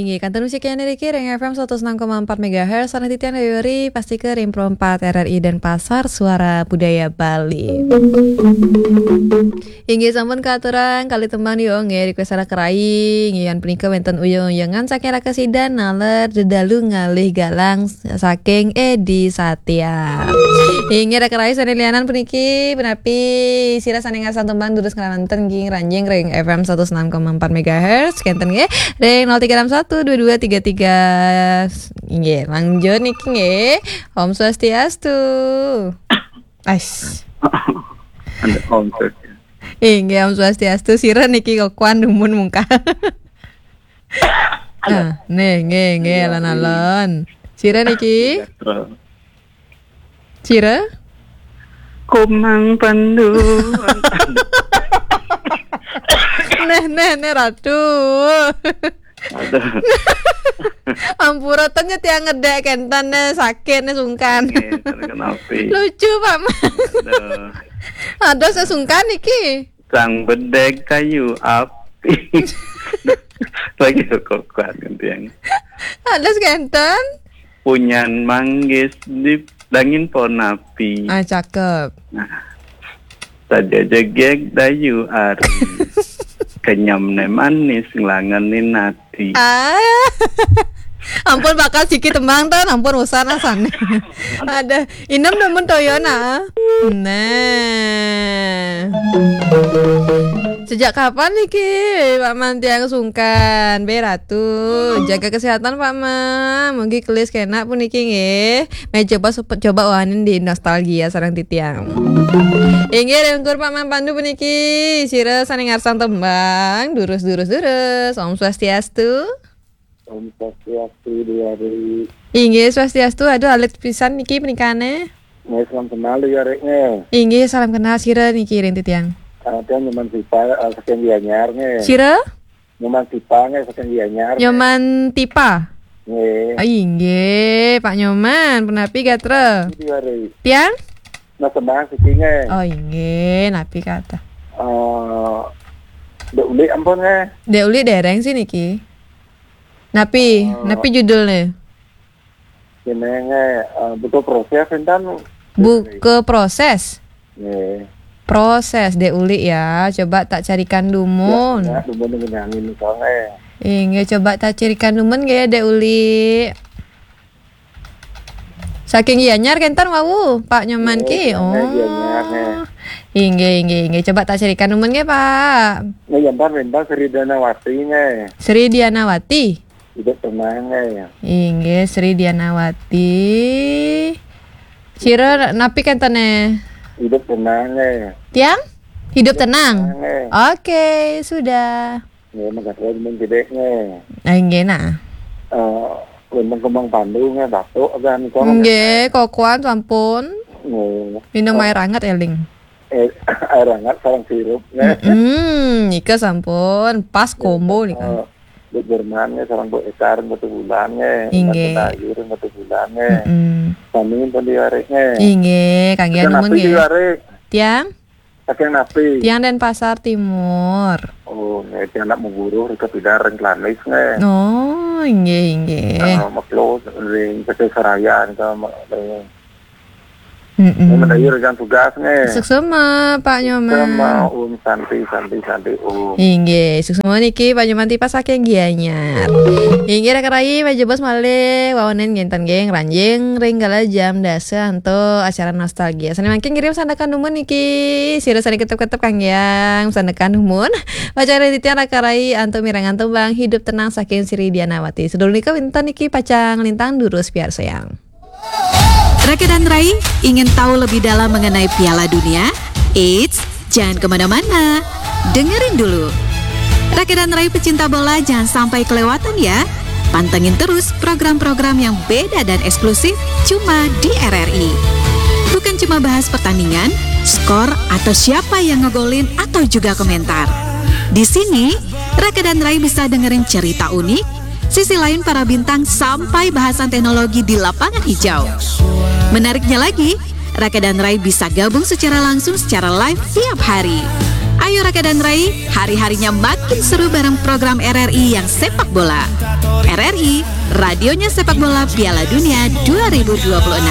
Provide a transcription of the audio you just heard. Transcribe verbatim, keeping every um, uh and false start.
Inggih, kantun musik niki ring F M satus enam koma empat megahertz, sareng titiang Dewi Ri, pastika ring Pro empat R R I Denpasar, Suara Budaya Bali. Inggih, sampun katurang kalih tembang nika, nggih, request Raka Rai, inggih, yen punika wenten uyeng-uyengan saking Raka Sidan, naler dedalu ngalih galang saking Edi Satya. Inggih, Raka Rai sane lianan puniki, punapi sira sane ngarsang tembang durus ngranjing, nggih, ngranjing ring F M satus enam koma empat megahertz, kenten nggih, ring nol tiga enam satu dua dua tiga tiga. Inggih, lanjut niki nggih. Om Swastiastu. Ais. Anda Om Swastiastu. Inggih, Om Swastiastu. Sira niki kok kuan dumun mungkal. Ah, nggih, nggih, nggih, alon-alon. Sira niki? Sejahtera. Sira? Komang Pandu. Neh, neh, neh, Ratu. Aduh. Ampura, ten nya tiang ngedek kenten, neh, sakit, neh, sungkan. Nggih, ten kenapi. Lucu, Pak Man. Aduh. Aduh, sesungkan iki. Sang bedeg kayu api. Lagi kok kuat kan tiang. Aduh, kenten. Punyan manggis di dangin pohon api. Ah, cakep. Nah, saja jegeg dayu ari. Kenyam ne manis nglangenin ati. Ah. Ampun, bakal siki tembang ten, ampun usan asane. Ada inem nemen toyona. Nah. Sejak kapan niki Pak Man tiang sungkan? Be Ratu, jaga kesehatan Pak Man. Mugi kelis kenak puniki nggih. Meh coba sup-, coba wanin di nostalgia sareng titiang. Inggih, ringkur Pak Man Pandu puniki. Sira sane ngarsang tembang, durus, durus, durus. Om Swastiastu. Om Swastiastu, Dewi Ri. Inggih, Swastiastu. Aduh, alit pisan niki punikane. Nggih, salam kenal, Dewi Ri, nggih. Inggih, salam kenal, sira niki ring titiang. Ah, tiang Nyoman Sipa, ah, saking Gianyar, nggih. Sira? Nyoman Sipa, nggih, saking Gianyar, nggih. Nyoman Tipa? Nggih. Ah, inggih, Pak Nyoman, punapi gatra? Dewi Ri. Tiang? Nah, sembah siki, nggih. Oh, inggih, napi kata? Eh, Dek Ulik ampun, nggih. Dek Ulik dereng sih niki. Napi, eh, napi judulnya? Jenenge, eh, Buka Proses, enten. Buka Proses? Nggih. Proses, Dek Ulik ya. Coba tak carikan dumun. Ya, ya, dumun ngenyangi nika, nggih. Inggih, coba tak carikan dumun nggih, Dek Ulik. Saking Gianyar kenten wau, Pak Nyoman nggih, ki. Saking Gianyar, nggih. Oh. Inggih, inggih, inggih. Coba tak carikan dumun nggih, Pak. Nggih, ya, ntar, ntar Sri Dianawati, nggih. Sri Dianawati? Hidup tenang, eh. Inggih, Sri Dianawati. Sira napi kentene? Hidup tenang, eh. Tiang? Hidup tenang. Hidup tenang, eh. Oke, sudah. Nggih, makasih, men gedek, nggih. Ah, inggih, nah. Eh, Lembang Kembang Pandu, nggih, batuk, kan, kok. Nggih, kokoan sampun. Nggih. Minum air hangat, eling. Eh, air hangat sareng sirup, nggih. Mm-mm, nika sampun pas combo nika. Eh, Bu Jerman, nggih, sareng Bu Eka ring Batubulan, nggih. Inggih. Mbak Sayur ring Batubulan, nggih. Mm-mm. Sami pun Dewi Ri, nggih. Inggih, kangge saking numun, napi, nggih. Dewi Ri? Tiang? Saking napi? Tiang Denpasar Timur. Oh, nggih, tiang anak Mengguruh, ring Kepidar, ring Klanis, nggih. Oh, inggih, inggih. Eh, meklo ring Pesisir Raya, nika, ring Mm-mm. Mendayu rekan tugas, nggih. Suksma, Pak Nyoman. Suksma, Om Santi, Santi, Santi, Om. Inggih, suksma niki Pak Nyoman Tipa saking Gianyar. Inggih, Raka Rai, majebos malih wawanen nginten nggih, ngranjing ring kala jam dasa antuk acara nostalgia. Sane mangkin ngirim sandekan dumun niki, sira sane ketep-ketep kanggiang sandekan dumun. Acara titiang Raka Rai antuk mirengang tembang Hidup Tenang saking Sri Dianawati. Sedul nika wenten niki pacang lintang durus piarsayang. Raka dan Rai, ingin tahu lebih dalam mengenai Piala Dunia? Eits, jangan kemana-mana. Dengerin dulu. Raka dan Rai pecinta bola, jangan sampai kelewatan ya. Pantengin terus program-program yang beda dan eksklusif cuma di R R I. Bukan cuma bahas pertandingan, skor, atau siapa yang ngegolin atau juga komentar. Di sini, Raka dan Rai bisa dengerin cerita unik, sisi lain para bintang, sampai bahasan teknologi di lapangan hijau. Menariknya lagi, Raka dan Rai bisa gabung secara langsung secara live tiap hari. Ayo Raka dan Rai, hari-harinya makin seru bareng program R R I yang sepak bola. R R I, radionya sepak bola Piala Dunia dua ribu dua puluh enam.